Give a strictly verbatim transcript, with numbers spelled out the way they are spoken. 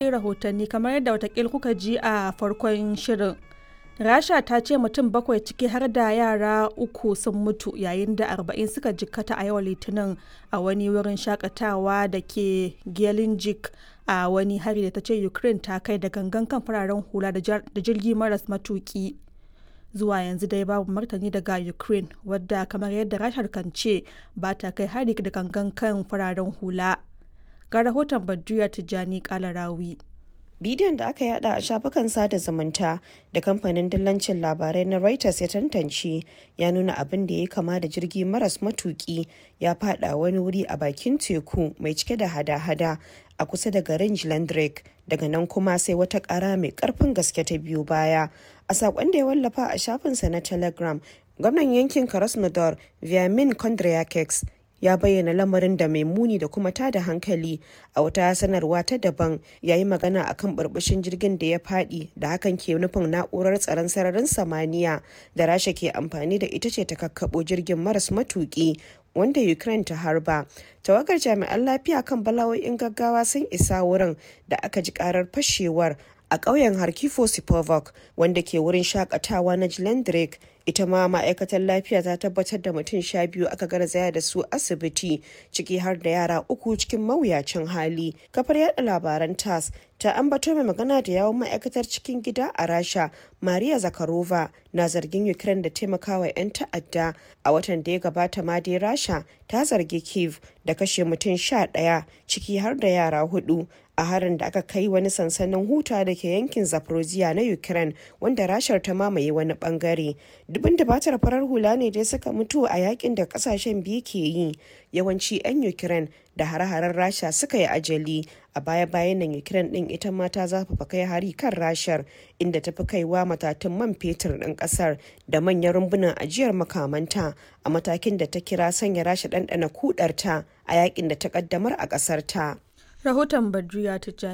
Rahotanni kamar yadda watakil kuka ji a farkon shirin, Rasha ta ce mutum bakwai ciki har da yara uku sun mutu yayin da arba'in suka jikkata a yau Litinin a wani wurin shakatawa da ke Gelendzhik a wani hari da ta ce Ukraine ta kai da gangan kan fararen hula da jirgi maras matuki. Zuwa yanzu dai babu martani daga Ukraine, wadda kamar yadda Rashar kan ce ba ta kai hari da gangan kan fararen hula. Ga rahoton Badruya Tijjani Kalarawi. Bidiyon da aka yada a shafukan sada zumunta da kamfanin dillancin labarai na Reuters ya tantance ya nuna abin da ya kama da jirgi maras matuki ya fada wani wuri a bakin teku mai cike da hada-hada a kusa da garin Jlandrek. Daga nan kuma sai wata kara mai karfin gaske ta biyu baya. A saƙon da ya wallafa a shafinsa na Telegram, gwamnan yankin Krasnodar Vyamin Kondryakeks ya bayyana lamarin da mai muni da kuma tada hankali. A wata sanarwa ta daban, ya yi magana akan burbushin jirgin da ya fadi, da hakan ke nufin na'urar tsaron sararin samaniya da Rasha ke amfani da ita ce ta kakkabo jirgin maras matuki wanda Ukraine ta harba. Tawagar jami'an lafiya kan bala'o'in gaggawa sun isa wurin da aka ji karar fashewar a ƙauyen Harkifo Sipovok wanda ke wurin shakatawa na Jlendrik. Ita ma ma'aikatar lafiya ta tabbatar da mutum sha biyu aka garzaya da su asibiti, ciki har da yara uku cikin mawuyacin hali. Kafar yada labaran TASS ta ambato mai magana da yawon ma'aikatar cikin gida a Rasha, Maria Zakharova, na zargin Ukraine da taimakawa 'yan ta'adda. A watan da ya gabata ma dai Rasha ta zargi Kiev da kashe mutum sha ɗaya, ciki har da yara hudu, a harin da aka kai wani sansanin huta da ke yankin Zaporozhye na Ukraine wanda Rashar ta mamaye wani bangare. Dubin dubatar farar hula ne dai suka mutu a yakin da kasashen biyu ke yi, yawanci 'yan Ukraine da hare-haren Rasha suka yi ajali. A baya-bayan nan Ukraine din ita ma ta zafafa kai hari kan Rashar, inda ta fi kaiwa matatun man fetur ɗin ƙasar da manyan rumbunan ajiyar makamanta, a matakin da ta kira sanya Rasha ɗanɗana kudarta a yakin da ta ƙaddamar a ƙasar ta. Rahoton Badruya Tijjani.